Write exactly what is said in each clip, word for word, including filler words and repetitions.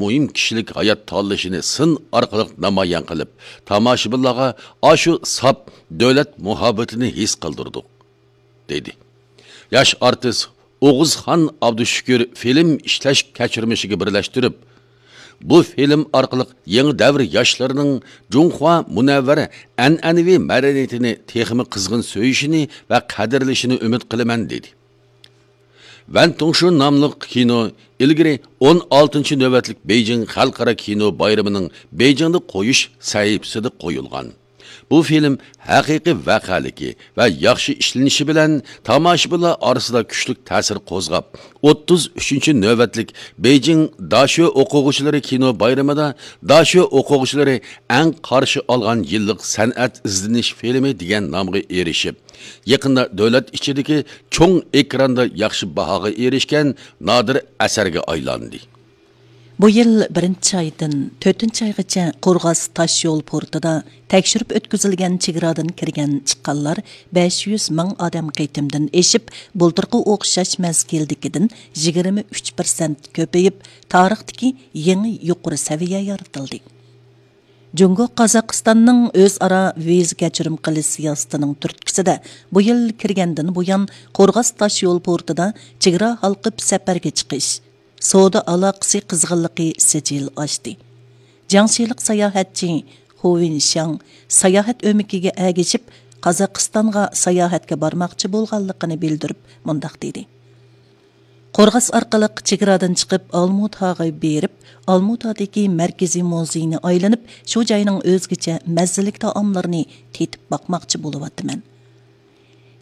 مۇھىم كىشىلىك ھايات تاللىشىنى سىن ئارقىلىق نامايان قىلىپ، تاماشىبىنلارغا ئاشۇ ساپ دۆلەت مۇھەببىتىنى ھېس قىلدۇردۇق، دېدى. ياش ئارتىس ئوغۇزخان ئابدۇشۈكۈر فىلىم ئىشلەش كەچۈرمىشىگە بىرلەشتۈرۈپ، بۇ فىلىم ئارقىلىق يېڭى دەۋر ياشلىرىنىڭ جۇڭخۇا مۇنەۋۋەر ئەنئەنىۋى مەدەنىيىتىنى تېخىمۇ قىزغىن سۆيۈشىنى ۋە قەدىرلىشىنى ئۈمىد قىلىمەن، دېدى. ۋەن تۇڭشۇ ناملىق كىنو ئىلگىرى ئون ئالتىنچى نۆۋەتلىك بېيجىڭ خەلقئارا كىنو بايرىمىنىڭ بېيجىڭدا قويۇش سەھىپىسىدە قويۇلغان. بۇ فىلىم ھەقىقىي ۋەقەلىكى ۋە ياخشى ئىشلىنىشى بىلەن تاماشىبىنلار ئارىسىدا كۈچلۈك تەسىر قوزغاپ، ئوتتۇز ئۈچىنچى نۆۋەتلىك بېيجىڭ داشۆ ئوقۇغۇچىلىرى كىنو بايرىمىدا داشۆ ئوقۇغۇچىلىرى ئەڭ قارشى ئالغان يىللىق سەنئەت ئىزدىنىش فىلىمى دېگەن نامغا ئېرىشىپ، يېقىندا دۆلەت ئىچىدىكى چوڭ ئېكراندا ياخشى باھاغا ئېرىشكەن نادىر ئەسەرگە ئايلاندى. بۇ يىل بىرىنچى ئايدىن تۆتىنچى ئايغىچە قورغاس تاش يول پورتىدا تەكشۈرۈپ ئۆتكۈزۈلگەن چېگرادىن كىرگەن چىققانلار بەش يۈز مىڭ ئادەم قېتىمدىن ئېشىپ، بۇلتۇرقى ئوخشاش مەزگىلدىكىدىن يىگىرمە ئۈچ پىرسەنت كۆپىيىپ، تارىختىكى يېڭى يۇقىرى سەۋىيە يارىتىلدى. جۇڭگو قازاقىستاننىڭ ئۆزئارا ۋىزا كەچۈرۈم قىلىش سىياسىتىنىڭ تۈرتكىسىدە، بۇ يىل كىرگەندىن بۇيان قورغاس تاش يول پورتىدا چېگرا ھالقىپ سەپەرگە چىقىش، سودا ئالاقىسى قىزغىنلىقى سىجىل ئاشتى. جياڭشىلىق ساياھەتچى خۇ ۋىنشياڭ ساياھەت ئۆمىكىگە ئەگىشىپ، قازاقىستانغا ساياھەتكە بارماقچى بولغانلىقىنى بىلدۈرۈپ، مۇنداق دېدى: قورغاس ئارقىلىق چېگرادىن چىقىپ، ئالمۇتاغا بېرىپ، ئالمۇتادىكى مەركىزىي مۇزېينى ئايلىنىپ، شۇ جاينىڭ ئۆزگىچە مەززىلىك تائاملىرىنى تېتىپ باقماقچى بولۇۋاتىمەن.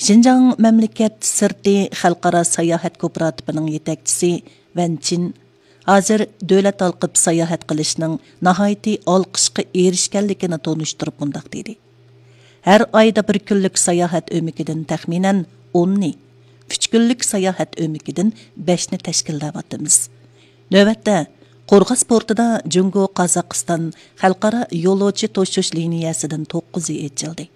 شىنجاڭ مەملىكەت سىرتى خەلقئارا ساياھەت كوپىراتىپىنىڭ يېتەكچىسى ۋەن چىن ھازىر دۆلەت ھالقىپ ساياھەت قىلىشنىڭ ناھايىتى ئالقىشقا ئېرىشكەنلىكىنى تونۇشتۇرۇپ مۇنداق دېدى: ھەر ئايدا بىر كۈنلۈك ساياھەت ئۆمىكىدىن تەخمىنەن ئوننى، ئۈچ كۈنلۈك ساياھەت ئۆمىكىدىن بەشنى تەشكىللەۋاتىمىز. نۆۋەتتە، قورغاس پورتىدا جۇڭگو قازاقىستان خەلقئارا يولۇچى توشۇش لىنىيەسىدىن توققۇزى ئېچىلدى.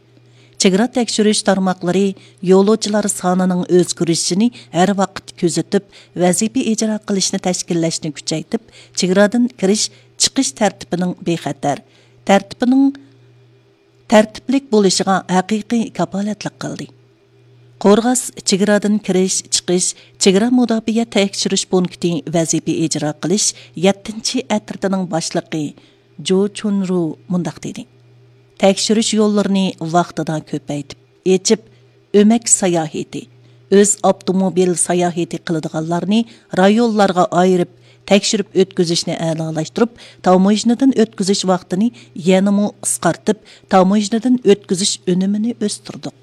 چېگرا تەكشۈرۈش تارماقلىرى يولۇچىلار سانىنىڭ ئۆزگىرىشىنى ھەر ۋاقىت كۆزىتىپ، ۋەزىپە ئىجرا قىلىشنى تەشكىللەشنى كۈچەيتىپ، چېگرادىن كىرىش، چىقىش تەرتىپىنىڭ بىخەتەر، تەرتىپىنىڭ تەرتىپلىك بولۇشىغا ھەقىقىي كاپالەتلىك قىلدى. قورغاس چېگرادىن كىرىش، چىقىش، چېگرا مۇداپىئە تەكشۈرۈش پونكىتى ۋەزىپە ئىجرا قىلىش يەتتىنچى ئەترىتىنىڭ باشلىقى جۇ چۇنرۇ مۇنداق دېدى: تەكشۈرۈش يوللىرىنى ۋاقتىدا كۆپەيتىپ ئېچىپ، ئۆمەك ساياھىتى، ئۆز ئاپتوموبىل ساياھىتى قىلىدىغانلارنى رايونلارغا ئايرىپ، تەكشۈرۈپ ئۆتكۈزۈشنى ئەلالاشتۇرۇپ، تاموژنىدىن ئۆتكۈزۈش ۋاقتىنى يەنىمۇ قىسقارتىپ، تاموژنىدىن ئۆتكۈزۈش ئۈنۈمىنى ئۆستۈردۇق.